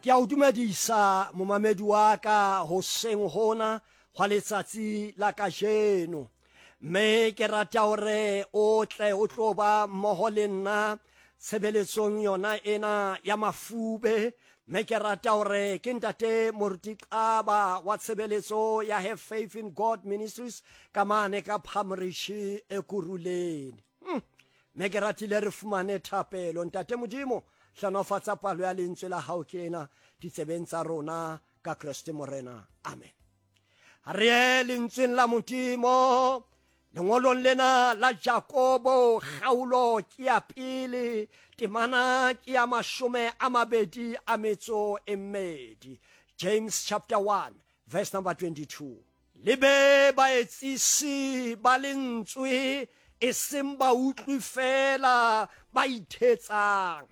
Ke a o dumedisa momamedi wa ka hoseng hona hwa letsatsi la kajeno. Mme ke rata hore o tle o tlo ba mmoho le nna tshebeletsong yona ena ya mafube. Mme ke rata hore ke ntate Moruti Xaba wa tshebeletso ya Have Faith in God Ministries ka mane ka Phamrishi Ekurhuleni. Hmm. Mme ke ratile re fumane thapelo. Ntate Modimo, hlanofatsa palo ya lentswe la hao ke ena ditsebeng tsa rona ka Kreste Morena. Amen. Re ye lentsweng la Modimo lengolong lena la Jakobo kgaolo ke ya pele temana ke ya 22. James chapter 1 verse number 22. Le be baetsisi ba lentswe e seng bautlwi feela ba ithetsang.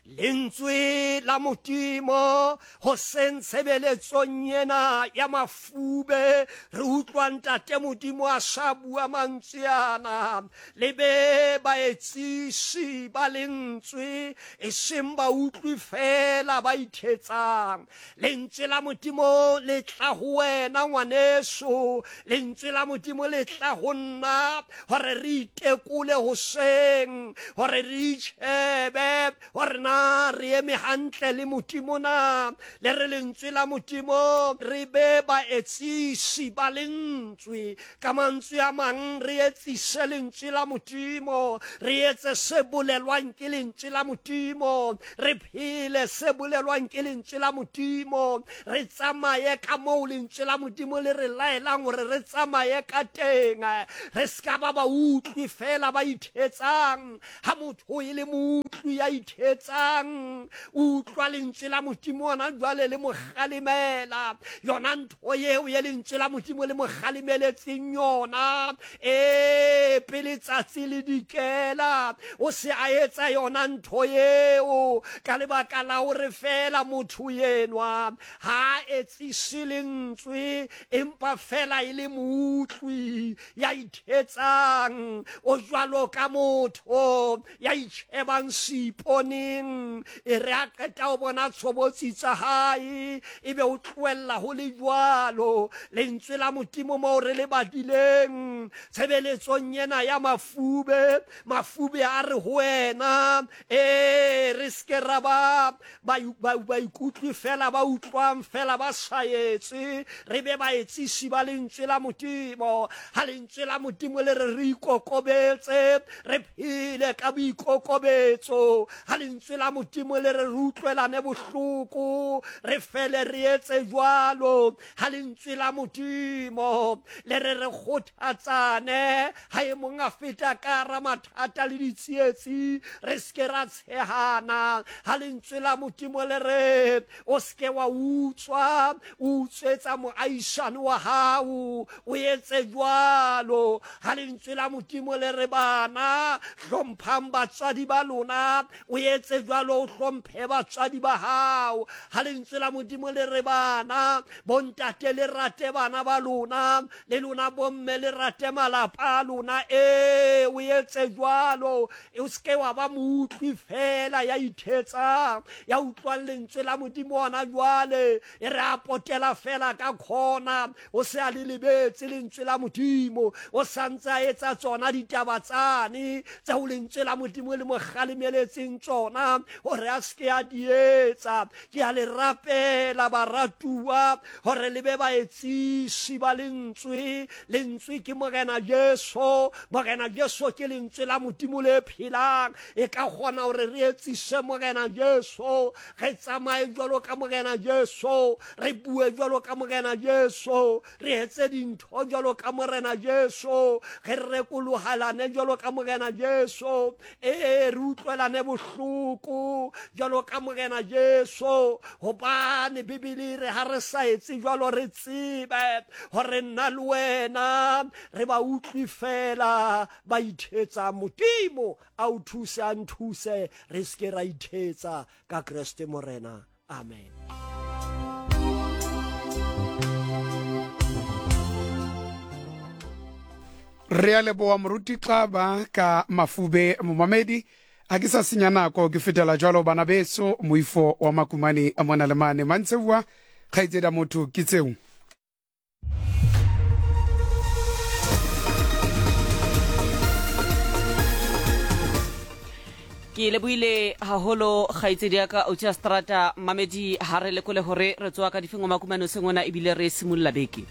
Lentswe la Modimo hoseng tshebeletsong ena ya mafube re utlwa Ntate Modimo a sa bua mantswe ana. Le be baetsisi ba lentswe e seng bautlwi feela ba ithetsang. Lentswe la Modimo le tla ho wena ngwaneso, lentswe la Modimo le tla ho nna gore re itekole hoseng, gore re itšhebe gore na re eme hantle le Modimo na. Le re lentswe la Modimo re be baetsisi ba lentswe. Ka mantswe a mang re etsise lentswe la Modimo, re etse se bolelwang ke lentswe la Modimo, re phele se bolelwang ke lentswe la Modimo, re tsamaye ka moo lentswe la Modimo le re laelang gore re tsamaye ka teng. Re se ka ba bautlwi fela ba ithetsang. Ha motho e le moutlwi ya ithetsang, o utlwa lentswe la Modimo ona jwale le mo kgalemela. Yona ntho eo ye lentswe la Modimo le mo kgalemeletseng yona, ee, pele tsatsi le dikela, o se a etsa yona ntho eo ka lebaka la hore feela motho enwa ha a etsise lentswe, empa feela e le moutlwi ya ithetsang. O jwalo ka motho ya itjhebang seiponeng, e re a qeta ho bona tshobotsi tsa hae, e be o tlohella ho le jwalo. Lentswe la Modimo moo re le badileng tshebeletsong ena ya mafube, mafube a re ho wena, ee, re se ke ra ba baikutlwi fela ba utlwang fela ba sa etse, re be baetsisi ba lentswe la Modimo. Ha lentswe la Modimo le re re ikokobetse, re phele ka boikokobetso. Ha lentswe la Modimo le re re utlwelane bohloko, re fele re etse jwalo. Ha lentswe la Modimo le re re kgothatsane, ha e mong a feta ka hara mathata le ditsietsi, re se ke ra tshehana. Ha lentswe la Modimo le re o se ke wa utswa, o utswetsa moahisane wa hao, o etse jwalo. Ha lentswe la Modimo le re bana, hlomphang batswadi ba lona, o etse jwalo, o hlomphe batswadi ba hao. Ha lentswe la Modimo le re bana, bontate le rate bana ba lona, le lona bomme le rate malapa a lona, ee, o etse jwalo. O se ke wa ba moutlwi feela ya ithetsang, ya utlwang lentswe la Modimo hona jwale, e re a potela feela ka khona, o se a le lebetse lentswe la Modimo, o sa ntse a etsa tsona ditaba tsane tseo lentswe la Modimo le mo kgalemeletseng tsona hore a se ke a di etsa. Ke a le rapela baratuwa hore le be baetsisi ba lentswe. Lentswe ke Morena Jesu. Morena Jesu ke lentswe la Modimo le phelang. E ka kgona hore re etsise Morena Jesu, re tsamaye jwalo ka Morena Jesu, re bue jwalo ka Morena Jesu, re etse dintho jwalo ka Morena Jesu, re rekolohalane jwalo ka Morena Jesu, ee, re utlwelane bohloko jwalo ka Morena Jesu. Hobane Bibele e re ha re sa etse jwalo, re tsebe hore nna le wena re ba utlwi feela ba ithetsang. Modimo a o thuse, a nthuse, re se ke ra ithetsa ka Kreste Morena. Amen. Re a leboa Moruti Xaba ka mafube momamedi. Ga ke sa senya nako, ke fetela jwalo bana beso, moifo wa Makumane a mona le mane. Mantseboa, kgaitsedi a motho, ke tseo. Ke lebohile haholo kgaitsedi ya ka Autia Strata. Mamedi, ha re lekole hore re tsoa ka difeng Makumane hoseng ona ebile re simolla beke.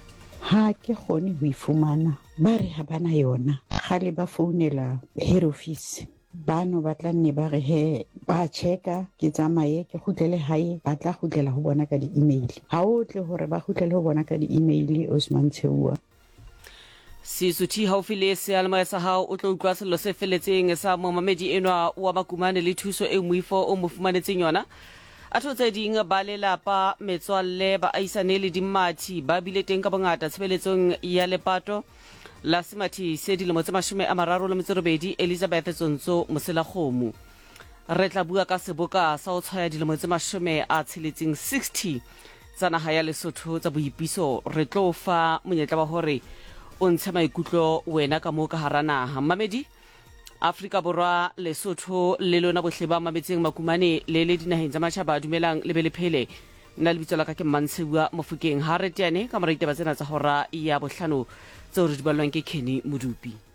Ha ke kgone ho e fumana, ba re ha ba na yona. Kgale ba founela head office, bano ba tla nne ba re he ba checka, ke tsamaye ke kgutlele hae, ba tla kgutlela ho bona ka di-email. Ha o tle hore ba kgutlele ho bona ka di-email, Osman Tsheua. Sesuthi haufi le seyalemoya sa hao o tlo utlwa sello se felletseng sa momamedi enwa wa Makumane le thuso eo moifo o mo fumanetseng yona. Atho tse ding, ba lelapa, metswalle, baahisane le dimmathi ba bile teng ka bongata tshebeletsong ya lepato la semathi se dilemo tse 38 Elizabeth Tsontso Moselakgomo. Re tla bua ka seboka sa ho tshwaya dilemo tse 60, 60, tsa naha ya Lesotho tsa boipiso. Re tlo fa monyetla wa hore o ntshe maikutlo wena ka moo ka hara naha. Mmamedi, Afrika Borwa, Lesotho le lona bohle ba mametseng Makumane le le dinaheng tsa matjhaba, dumelang le be le phele. Nna lebitso la ka ke Mmantsheua Mofokeng. Ha re teane ka mora ditaba tsena tsa hora ya bohlano tseo re di ballwang ke Kenny Modupi.